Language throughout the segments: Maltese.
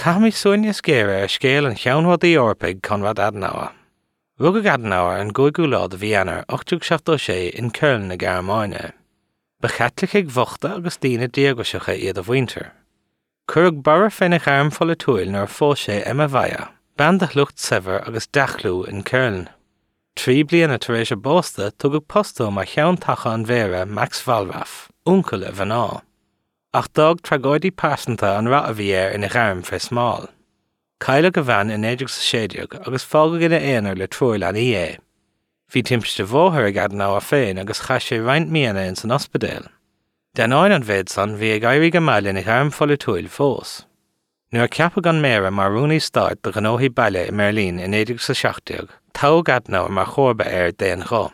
Caithfimid súil níos géire ar scéal an cheannródaí Eorpaigh Konrad Adenauer. Rugadh Adenauer ar an gcúigiú lá de mhí Eanáir 1876 in Köln na Gearmáine. Ba Chaitlicigh bhochta agus daoine díograiseacha iad a mhuintir. Cuireadh borradh féna ghairm pholaitiúil nuair a phós sé Emma Weihe, bean de shliocht saibhir agus dea-chlú in Köln. Trí bliana tar éis a bpósta, tugadh post dó mar cheann taca an mhéara Max Wallraff, uncail a mhná. Ach d'fhág tragóidí pearsanta an rath a bhí air ina ghairm fé smál. Cailleadh a bhean i 1916 agus fágadh ina aonar le triúr leanaí é. Bhí timpiste bhóthair ag Adenauer féin agus chaith sé roinnt míonna ins an ospidéal. D'ainneoin an mhéid san, bhí ag éirí go maith lena ghairm pholaitiúil fós. Nuair a ceapadh an Méara mar Rúnaí Stáit do Ghnóthaí Baile i mBeirlín i 1917, toghadh Adenauer mar chomharba air d'aon ghuth.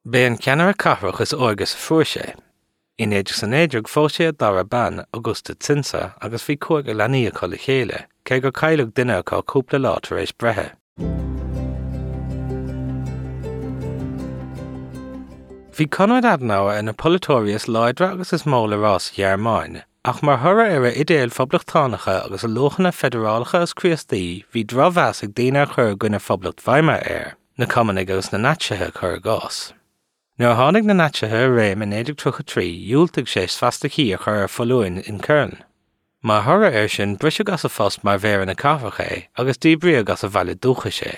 B'é an ceannaire cathrach is óige sa phróiseas. I 1919 phós sé a dara bean, Auguste Zinser, agus bhí cúigear leanaí acu le chéile, cé gur cailleadh duine acu cúpla lá tar éis breithe. Bhí Konrad Adenauer ar na polaiteoirí is láidre agus is mó le rá sa Ghearmáin, ach mar thoradh ar a idéil phoblachtánacha agus a luachanna feidearálacha is Críostaí bhí drochmheas ag daoine a chuir i gcoinne Phoblacht Weimar air. na Cumannaigh agus na Naitsithe, cuir i gcás. Nuair a tháinig na Naitsithe i réim i 1933, dhiúltaigh sé svastaicí a chur ar foluain in Köln. Mar thoradh air sin, briseadh as a phost mar mhéara na cathrach é agus díbríodh as a bhaile dúchais é.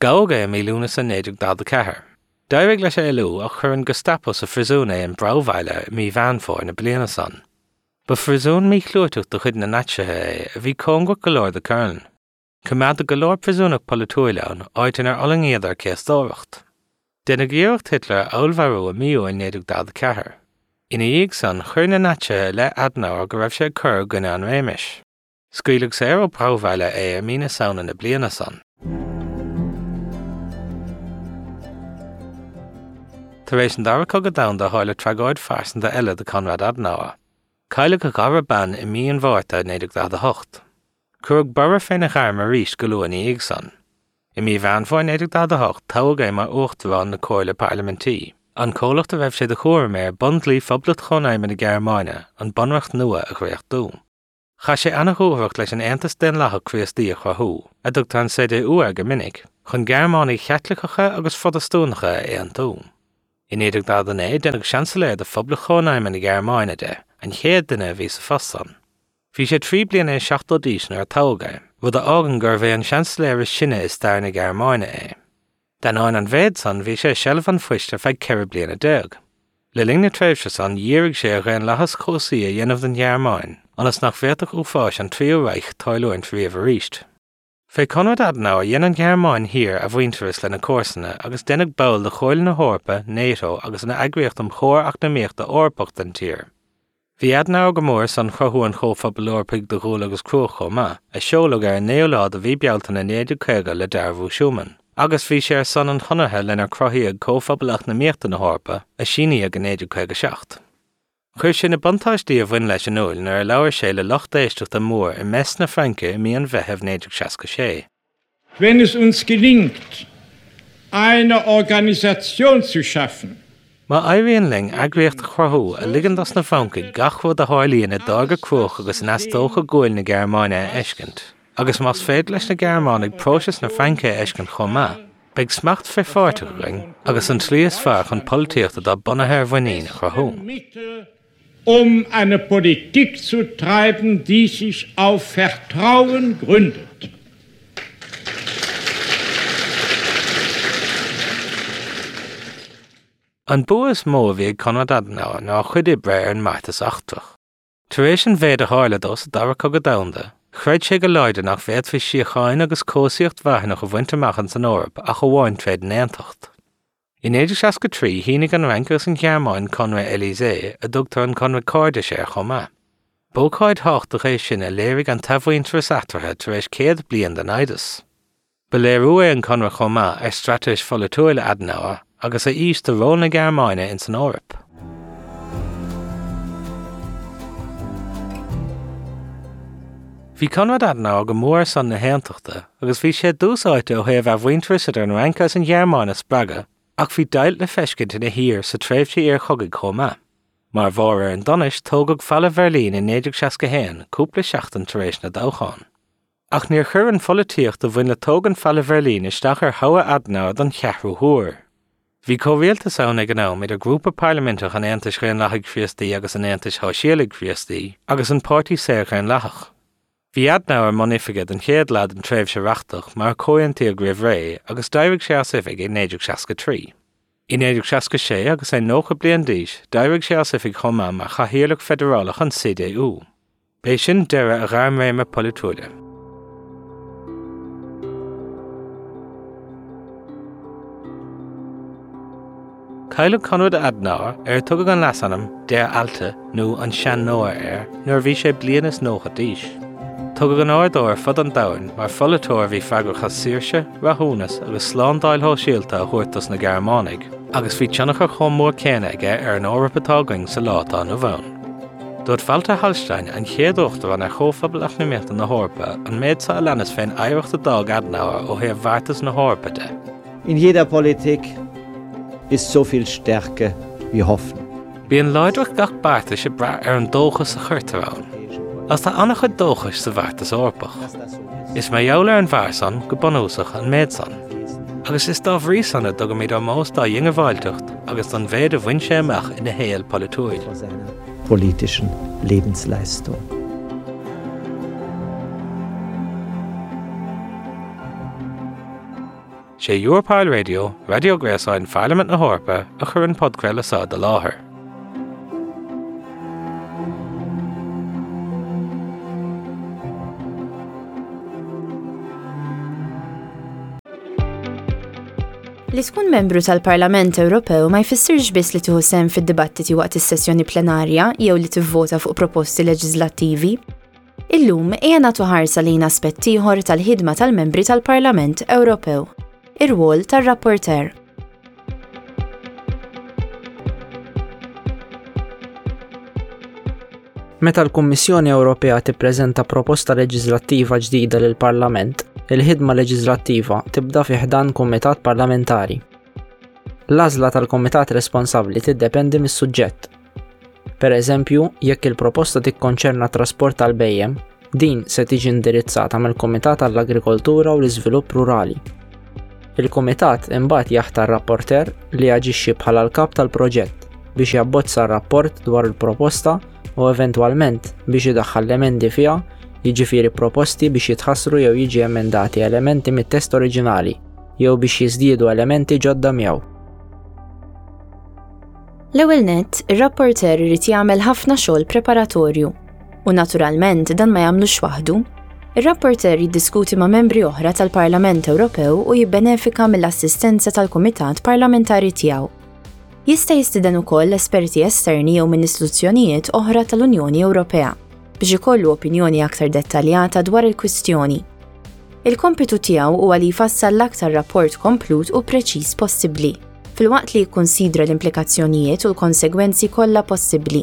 Gabhadh é i mí Lúnasa 1944. D'éirigh leis éalú ach chuir an Gestapo sa phríosún é in Brauweiler i mí Mheán Fómhair na bliana san. Ba phríosún míchlúiteach de chuid na Naitsithe é a bhí cóngarach go leor do Köln. Coimeádadh go leor príosúnach polaitiúil ann, áit inar fhulaingíodar céastóireacht. Deineadh iarracht Hitler a fheallmharú i mí Iúil 1944. Ina dhiaidh san, chuir na Naitsithe i leith Adenauer go raibh sé ag cur i gcoinne an réimis. Scaoileadh saor ó Brauweiler é i mí na Samhna na bliana san. Tar éis an Dara Cogadh Domhanda tharla tragóid phearsanta eile do Konrad Adenauer. Cailleadh a dhara bean i mí an Mhárta 1948. Cuireadh borradh féna ghairm arís go luath ina dhiaidh san. I mí Mheán Fómhair 1948 toghadh é mar Uachtarán na Comhairle Parlaimintí, an comhlacht a raibh sé de chúram air bundlí Phoblacht Chónaidhme na Gearmáine, an Bunreacht nua, a dhréachtú. Chaith sé ana-dhúthracht leis an Aontas Daonlathach Críostaí a chruthú, a dtugtar an CDU air go minic, chun Gearmánaigh Chaitliceacha agus Phrotastúnacha a aontú. I 1949 deineadh Seansailéir de Phoblacht Chónaidhme na Gearmáine de, an chéad duine a bhí sa phost san. Bhí sé trí bliana is 70 d'aois nuair a toghadh é, rud a fhágann gurbh é an Seansailéir is sine i stair na Gearmáine é. D'ainneoin an mhéid san, bhí sé i seilbh an phoist ar feadh 14 bliana. Le linn na tréimhse san, dhírigh sé ar dhaonlathas cobhsaí a dhéanamh den Ghearmáin, ionas nach bhféadfadh uafáis an Tríú Reich tarlúint riamh arís. Fé Konrad Adenauer dhein an Ghearmáin Thiar athmhuintearas lena comharsana agus deineadh ball de Chomhairle na hEorpa, NATO agus an Eagraíocht um Chomhar Eacnamaíochta Eorpach den tír. Bhí Adenauer go mór ar son chruthú an Chomhphobail Eorpaigh do Ghual agus Cruach chomh maith, a seoladh ar an 9ú lá de mhí Bealtaine 1950 le Dearbhú Schuman, agus bhí sé ar son an chonartha lenar cruthaíodh Comhphobal Eacnamaíochta na hEorpa, a síníodh i 1957. Chuir sé na buntáistí a bhain leis in iúl nuair a labhair sé le lucht éisteachta mór i Metz na Fraince i mí an Mheithimh 1966. Wenn es uns gelingt, eine Organisation zu schaffen, Má éiríonn linn eagraíocht a chruthú a ligeann dos na Francaigh gach rud a tharlaíonn i dtáirgeadh cruach agus in eastóscadh guail na Gearmáine a fheiscint, agus más féidir leis na Gearmánaigh próiseas na Fraince a fheiscint chomh maith, Beidh smacht frithpháirteach againn agus an tslí is fearr chun polaitíocht atá bunaithe ar mhuinín a chruthú. Um eine Politik zu treiben, die sich auf Vertrauen gründet. An bua is mó a bhí ag Konrad Adenauer ná a chuid oibre ar an mbeartas eachtrach. Tar éis an mhéid a tharla dó sa Dara Cogadh Domhanda, chreid sé go láidir nach bhféadfaí síocháin agus cobhsaíocht mharthanach a bhaint amach ins an Eoraip ach amháin tréd an aontacht. I 1963, shínigh an Fhrainc agus an Ghearmáin Conradh Élysée, a dtugtar an Conradh Cairdis air chomh maith. B'ócáid thábhachtach é sin a léirigh an t-athmhuintearas eatarthu tar éis 100 bliain de naimhdeas. Ba léiriú é an conradh chomh maith ar straitéis pholaitiúil Adenauer agus a fhís do ról na Gearmáine ins an Eoraip. Bhí Konrad Adenauer go mór ar son na haontachta agus bhí sé i dtús áite ó thaobh athmhuintearas idir an Fhrainc agus an Ghearmáin a spreagadh ach bhí deighilt le feiscint ina thír sa tréimhse iarchogaidh chomh maith. Mar bharr ar an donais, tógadh Falla Bheirlín i 1961, cúpla seachtain tar éis na dtoghchán. Ach níor chuir an pholaitíocht a bhain le tógaint Bhalla Bheirlín isteach ar thoghadh Adenauer don cheathrú huair. Bhí comhrialtas ann ag an am idir grúpa parlaiminteach an Aontais Dhaonlathaigh Chríostaí agus an Aontais Shóisialaigh Chríostaí agus an Páirtí Saor-Dhaonlathach. Bhí Adenauer i mbun oifige don chéad leath den tréimhse reachtach mar a comhaontaíodh roimh ré agus d'éirigh sé as oifig i 1963. I 1966 agus é 90 bliain d'aois d'éirigh sé as oifig chomh maith mar chathaoirleach feidearálach an CDU. B'é sin deireadh a ghairmréime polaitiúla. Cailleadh Konrad Adenauer, ar a tugadh an leasainm Der Alte nó an Sean-Noah air, nuair a bhí sé bliain is 90 d'aois. Tugadh onóir dó ar fud an domhain mar pholaiteoir a bhí freagrach as saoirse, rathúnas agus slándáil shóisialta a thabhairt dos na Gearmánaigh, agus bhí tionchar chomh mór céanna aige ar an Eoraip atá againn sa lá atá inniu ann. Dúirt Walter Hallstein, an chéad Uachtarán ar Chomhphobal Eacnamaíochta na hEorpa, an méid seo a leanas fén oidhreacht a d'fhág Adenauer ó thaobh bheartas na hEorpa de. In jeder Politik ist so viel Stärke wie Hoffnung. Bíonn láidreacht gach beartais ag brath ar an dóchas a chuirtear ann. Agus tá an-chuid dóchais sa bheartas Eorpach. Is mar gheall ar an bhfear san, go bunúsach, an méid san. Agus is dá bhrí san a dtugaimid ómós dá dhiongbháilteacht agus don mhéid a bhain sé amach ina shaol polaitiúil. politischen Lebensleistung. Sé Europarl Radio, raidió gréasáin Pharlaimint na hEorpa, a chuir an podchraoladh seo i do láthair. Li tkun membru tal-Parlament Ewropew ma jfissirx biss li tieħu sehem fid-dibattiti waqt is-sessjoni plenarja jew li tivvota fuq proposti leġiżlattivi. Illum ejja nagħtu ħarsa lejn aspett ieħor tal-ħidma tal-membri tal-Parlament Ewropew, ir-rwol tar-rapporteur. Meta l-Kummissjoni Ewropea tippreżenta proposta leġiżlattiva ġdida lill-Parlament, il-ħidma leġiżlattiva tibda fi ħdan kumitat parlamentari. L-għażla tal-kumitat responsabbli tiddependi mis-suġġett. Per eżempju, jekk il-proposta tikkonċerna t-trasport tal-bhejjem, din se tiġi indirizzata mill-Kumitat għall-Agrikoltura u l-Iżvilupp Rurali. Il-Kumitat imbagħad jaħtar rapporteur li jaġixxi bħala l-kap tal-proġett biex jabbozza r-rapport dwar il-proposta u eventwalment biex idaħħal l-emendi fiha, jiġifieri proposti biex jitħassru jew jiġi emendati elementi mit-test oriġinali jew biex jiżdiedu elementi ġodda miegħu. L-ewwel nett, ir-rapporteur irid jagħmel ħafna xogħol preparatorju. U naturalment dan ma jagħmlux waħdu. Ir-rapporteur jiddiskuti ma' membri oħra tal-Parlament Ewropew u jibbenefika mill-assistenza tal-kumitat parlamentari tiegħu. Jista' jistieden ukoll esperti esterni jew minn istituzzjonijiet oħra tal-Unjoni Ewropea biex ikollu opinjoni aktar dettaljata dwar il-kwistjoni. Il-kompitu tiegħu huwa li jfassal l-aktar rapport komplut u preċiż possibbli, filwaqt li jikkunsidra l-implikazzjonijiet u l-konsegwenzi kollha possibbli.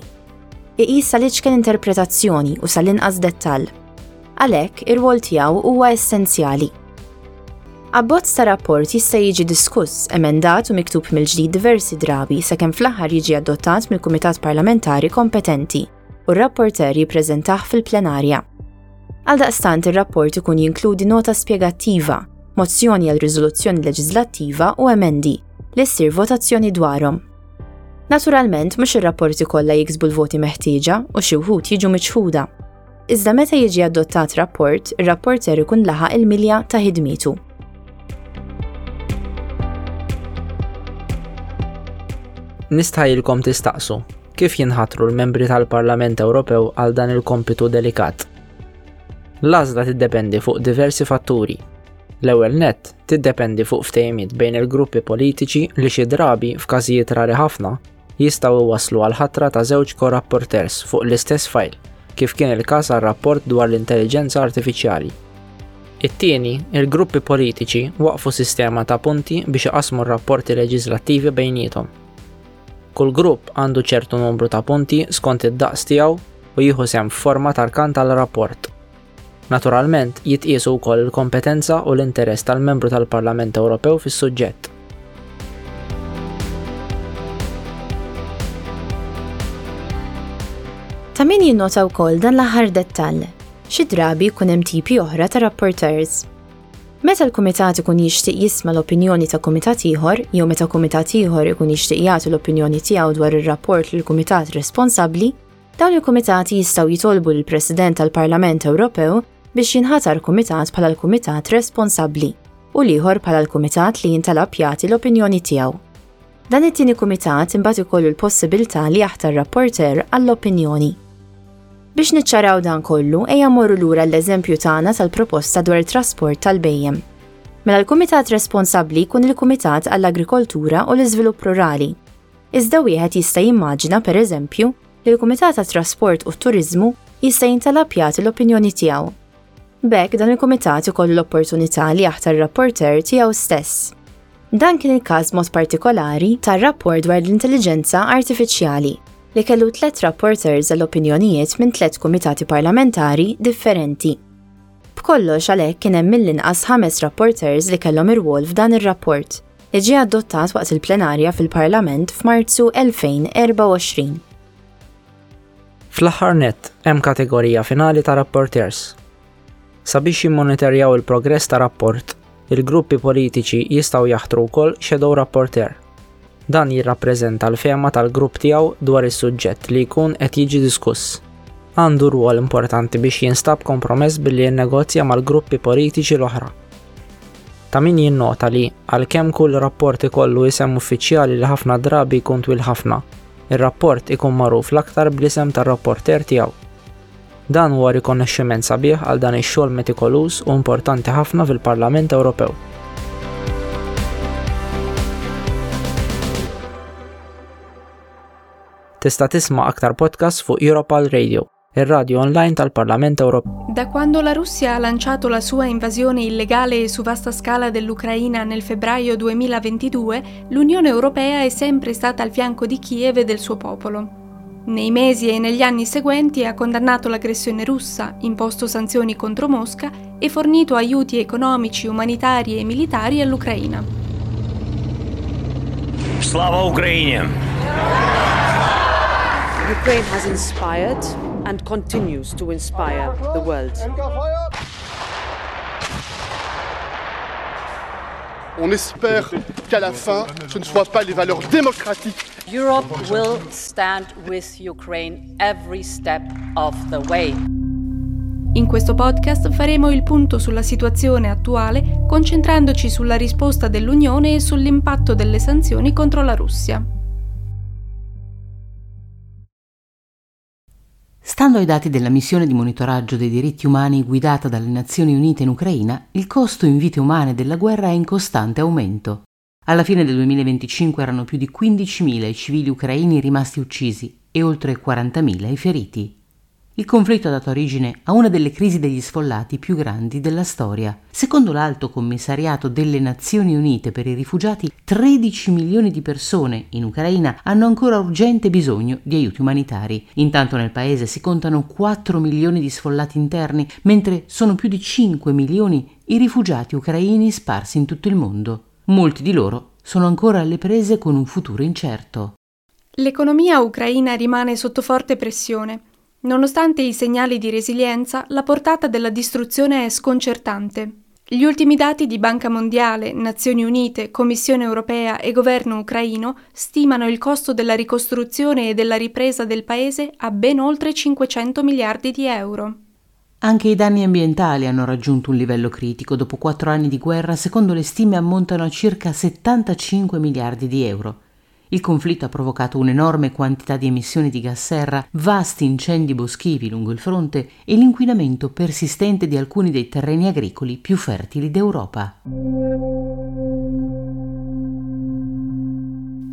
Iqis sal-iċken interpretazzjoni u sal-inqas dettall. Għalhekk, ir-rwol tiegħu huwa essenzjali. Abbozz ta' rapport jista' jiġi diskuss, emendat u miktub mill-ġdid diversi drabi sakemm fl-aħħar jiġi adottat mill-kumitat parlamentari kompetenti u r-rapporteur jippreżentah fil-plenarja. Għaldaqstant ir-rapport ikun jinkludi nota spjegattiva, mozzjoni għal riżoluzzjoni leġiżlattiva u emendi, li ssir votazzjoni dwarhom. Naturalment, mhux ir-rapporti kollha jiksbu l-voti meħtieġa u xi wħud jiġu miċħuda. Iżda meta jiġi adottat rapport, ir-rapporteur ikun laħaq il-milja ta' ħidmietu. Nistħajjilkom tistaqsu, kif jinħatru l-membri tal-Parlament Ewropew għal dan il-kompitu delikat? L-għażla tiddependi fuq diversi fatturi. L-ewwel nett, tiddependi fuq ftehimiet bejn il-gruppi politiċi li xi drabi, f'każijiet rari ħafna, jistgħu jwasslu għall-ħatra ta' żewġ co-rapporteurs fuq l-istess fajl, kif kien il-każ għar-rapport dwar l-intelliġenza artifiċjali. It-tieni, il-gruppi politiċi waqqfu sistema ta' punti biex iqassmu r-rapporti leġiżlattivi bejniethom. Kull grupp għandu ċertu numru ta' punti skont id-daqs tiegħu u jieħu sehem f'forma ta' rkant għal rapport. Naturalment, jitqiesu wkoll il-kompetenza u l-interess tal-Membru tal-Parlament Ewropew fis-suġġett. Ta' min jinnota wkoll dan l-aħħar dettall. Xi drabi jkun hemm tipi oħra ta' rapporteurs. Meta l-kumitat ikun jixtieq jisma' l-opinjoni ta' kumitat ieħor jew meta kumitat ieħor ikun jixtieq jagħti l-opinjoni tiegħu dwar ir-rapport lill-kumitat responsabbli, dawn il-kumitati jistgħu jitolbu lill-President tal-Parlament Ewropew biex jinħatar kumitat bħala l-kumitat responsabbli u l-ieħor bħala l-kumitat li jintalab jagħti l-opinjoni tiegħu. Dan it-tieni kumitat imbagħad ikollu l-possibilità li jaħtar rapporteur għall-opinjoni. Biex niċċaraw dan kollu, ejja mmorru lura l-eżempju tagħna tal-proposta dwar it-trasport tal-bhejjem. Mela l-kumitat responsabbli jkun il-Kumitat għall-Agrikoltura u l-Iżvilupp Rurali. Iżda wieħed jista' jimmaġina, pereżempju, li l-Kumitat għat-Trasport u t-Turiżmu jista' jintalab jagħti l-opinjoni tiegħu. B'hekk dan il-kumitat ikollu l-opportunità li jaħtar rapporteur tiegħu stess. Dan kien il-każ b'mod partikolari tar-rapport dwar l-intelliġenza artifiċjali, li kellu tlett rapporteurs għal opinjonijiet minn tlett kumitati parlamentari differenti. B'kollox għalhekk kien hemm mill-inqas ħames rapporteurs li kellhom irwol f'dan ir-rapport, li ġie adottat waqt il-plenarja fil-Parlament f'Marzu 2024. Fl-aħħar nett, hemm kategorija finali ta' rapporteurs. Sabiex jimmonitorjaw il-progress ta' rapport, il-gruppi politiċi jistgħu jaħtru wkoll shadow rapporteur. Dan jirrappreżenta l-fehma tal-grupp tiegħu dwar is-suġġett li jkun qed jiġi diskuss. Għandu rwol importanti biex jinstab kompromess billi jinnegozja mal-gruppi politiċi l-oħra. Ta' min jinnota li, għalkemm kull rapport ikollu isem uffiċjali li ħafna drabi jkun twil ħafna, ir-rapport ikun magħruf l-aktar bl-isem tar-rapporteur tiegħu. Dan huwa rikonoxximent sabiħ għal dan ix-xogħol metikoluż u importanti ħafna fil-Parlament Ewropew. Tista' tisma' aktar podcasts fuq Europal Radio, ir-radju online tal-Parlament Ewropew. Da quando la Russia ha lanciato la sua invasione illegale e su vasta scala dell'Ucraina nel febbraio 2022, l'Unione Europea è sempre stata al fianco di Kiev e del suo popolo. Nei mesi e negli anni seguenti ha condannato l'aggressione russa, imposto sanzioni contro Mosca e fornito aiuti economici, umanitari e militari all'Ucraina. Slava Ukraini! Ukraine has inspired and continues to inspire the world. On espère qu'à la fin, ce ne soient pas les valeurs démocratiques. Europe will stand with Ukraine every step of the way. In questo podcast faremo il punto sulla situazione attuale, concentrandoci sulla risposta dell'Unione e sull'impatto delle sanzioni contro la Russia. Stando ai dati della missione di monitoraggio dei diritti umani guidata dalle Nazioni Unite in Ucraina, il costo in vite umane della guerra è in costante aumento. Alla fine del 2025 erano più di 15.000 i civili ucraini rimasti uccisi e oltre 40.000 i feriti. Il conflitto ha dato origine a una delle crisi degli sfollati più grandi della storia. Secondo l'Alto Commissariato delle Nazioni Unite per i Rifugiati, 13 milioni di persone in Ucraina hanno ancora urgente bisogno di aiuti umanitari. Intanto nel paese si contano 4 milioni di sfollati interni, mentre sono più di 5 milioni i rifugiati ucraini sparsi in tutto il mondo. Molti di loro sono ancora alle prese con un futuro incerto. L'economia ucraina rimane sotto forte pressione. Nonostante i segnali di resilienza, la portata della distruzione è sconcertante. Gli ultimi dati di Banca Mondiale, Nazioni Unite, Commissione Europea e Governo ucraino stimano il costo della ricostruzione e della ripresa del paese a ben oltre 500 miliardi di euro. Anche i danni ambientali hanno raggiunto un livello critico. Dopo 4 anni di guerra, secondo le stime, ammontano a circa 75 miliardi di euro. Il conflitto ha provocato un'enorme quantità di emissioni di gas serra, vasti incendi boschivi lungo il fronte e l'inquinamento persistente di alcuni dei terreni agricoli più fertili d'Europa.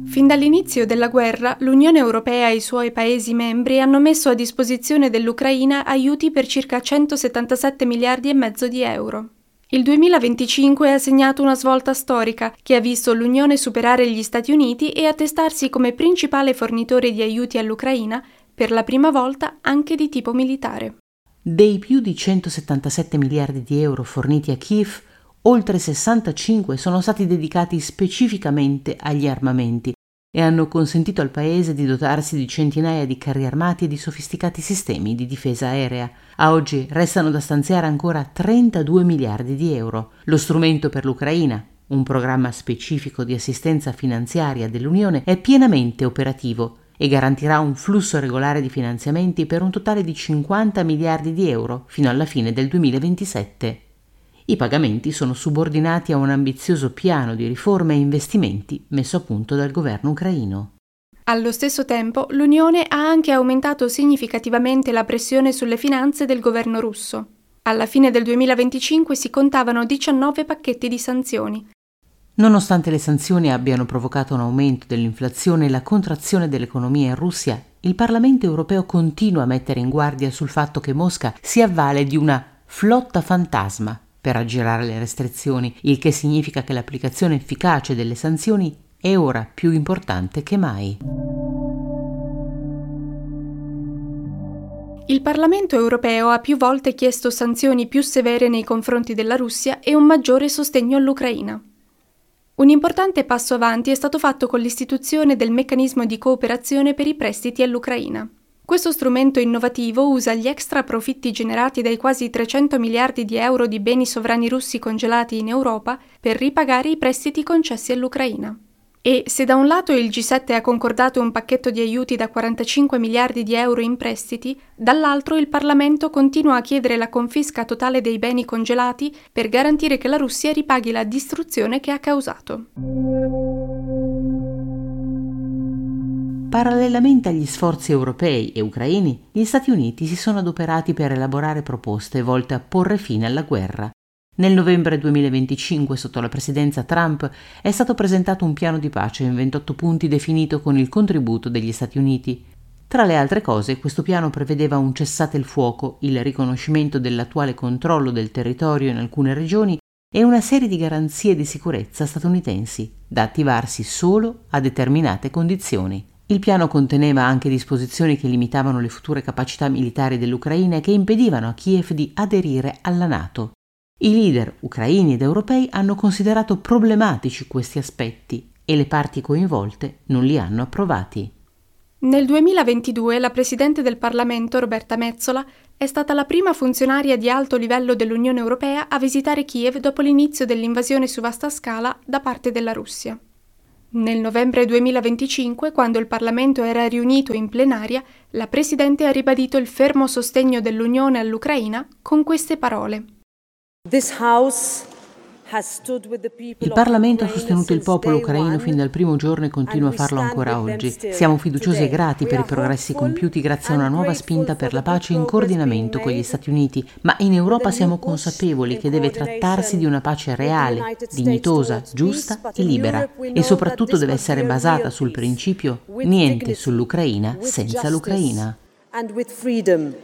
Fin dall'inizio della guerra, l'Unione Europea e i suoi Paesi membri hanno messo a disposizione dell'Ucraina aiuti per circa 177 miliardi e mezzo di euro. Il 2025 ha segnato una svolta storica che ha visto l'Unione superare gli Stati Uniti e attestarsi come principale fornitore di aiuti all'Ucraina, per la prima volta anche di tipo militare. Dei più di 177 miliardi di euro forniti a Kiev, oltre 65 sono stati dedicati specificamente agli armamenti. e hanno consentito al paese di dotarsi di centinaia di carri armati e di sofisticati sistemi di difesa aerea. A oggi restano da stanziare ancora 32 miliardi di euro. Lo strumento per l'Ucraina, un programma specifico di assistenza finanziaria dell'Unione, è pienamente operativo e garantirà un flusso regolare di finanziamenti per un totale di 50 miliardi di euro fino alla fine del 2027. I pagamenti sono subordinati a un ambizioso piano di riforme e investimenti messo a punto dal governo ucraino. Allo stesso tempo, l'Unione ha anche aumentato significativamente la pressione sulle finanze del governo russo. Alla fine del 2025 si contavano 19 pacchetti di sanzioni. Nonostante le sanzioni abbiano provocato un aumento dell'inflazione e la contrazione dell'economia in Russia, il Parlamento europeo continua a mettere in guardia sul fatto che Mosca si avvale di una flotta fantasma per aggirare le restrizioni, il che significa che l'applicazione efficace delle sanzioni è ora più importante che mai. Il Parlamento europeo ha più volte chiesto sanzioni più severe nei confronti della Russia e un maggiore sostegno all'Ucraina. Un importante passo avanti è stato fatto con l'istituzione del meccanismo di cooperazione per i prestiti all'Ucraina. Questo strumento innovativo usa gli extra profitti generati dai quasi 300 miliardi di euro di beni sovrani russi congelati in Europa per ripagare i prestiti concessi all'Ucraina. E se da un lato il G7 ha concordato un pacchetto di aiuti da 45 miliardi di euro in prestiti, dall'altro il Parlamento continua a chiedere la confisca totale dei beni congelati per garantire che la Russia ripaghi la distruzione che ha causato. Parallelamente agli sforzi europei e ucraini, gli Stati Uniti si sono adoperati per elaborare proposte volte a porre fine alla guerra. Nel novembre 2025, sotto la presidenza Trump, è stato presentato un piano di pace in 28 punti definito con il contributo degli Stati Uniti. Tra le altre cose, questo piano prevedeva un cessate il fuoco, il riconoscimento dell'attuale controllo del territorio in alcune regioni e una serie di garanzie di sicurezza statunitensi, da attivarsi solo a determinate condizioni. Il piano conteneva anche disposizioni che limitavano le future capacità militari dell'Ucraina e che impedivano a Kiev di aderire alla NATO. I leader ucraini ed europei hanno considerato problematici questi aspetti e le parti coinvolte non li hanno approvati. Nel 2022 la Presidente del Parlamento, Roberta Metsola, è stata la prima funzionaria di alto livello dell'Unione Europea a visitare Kiev dopo l'inizio dell'invasione su vasta scala da parte della Russia. Nel novembre 2025, quando il Parlamento era riunito in plenaria, la Presidente ha ribadito il fermo sostegno dell'Unione all'Ucraina con queste parole. This house has stood with the people Il of Parlamento ha Ukraine sostenuto il since popolo day ucraino one fin dal primo giorno e continua a and we farlo stand ancora with them oggi. still Siamo fiduciosi e today. grati We per i are progressi hopeful compiuti grazie a and una nuova grateful spinta for per the la good pace in progress being coordinamento con gli made Stati Uniti, ma in with Europa a new siamo push consapevoli in che deve trattarsi di coordination una pace with the reale, United States dignitosa, towards peace, giusta but e in libera Europe we e know that soprattutto this deve must essere be a basata real sul peace principio with niente dignity, sull'Ucraina with senza justice l'Ucraina. and with freedom.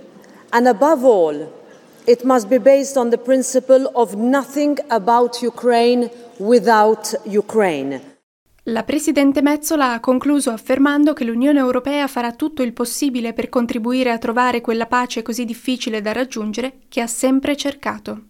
And above all, it must be based on the principle of nothing about Ukraine without Ukraine. La Presidente Metsola ha concluso affermando che l'Unione Europea farà tutto il possibile per contribuire a trovare quella pace così difficile da raggiungere che ha sempre cercato.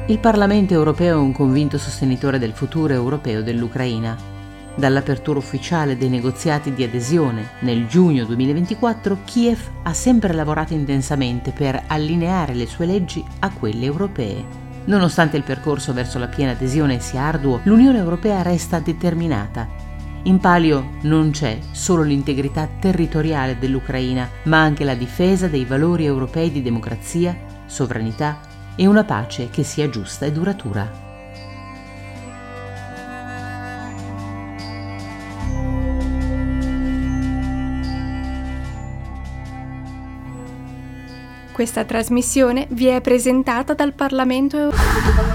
Il Parlamento europeo è un convinto sostenitore del futuro europeo dell'Ucraina. Dall'apertura ufficiale dei negoziati di adesione nel giugno 2024, Kiev ha sempre lavorato intensamente per allineare le sue leggi a quelle europee. Nonostante il percorso verso la piena adesione sia arduo, l'Unione Europea resta determinata. In palio non c'è solo l'integrità territoriale dell'Ucraina, ma anche la difesa dei valori europei di democrazia, sovranità e una pace che sia giusta e duratura. Questa trasmissione vi è presentata dal Parlamento europeo.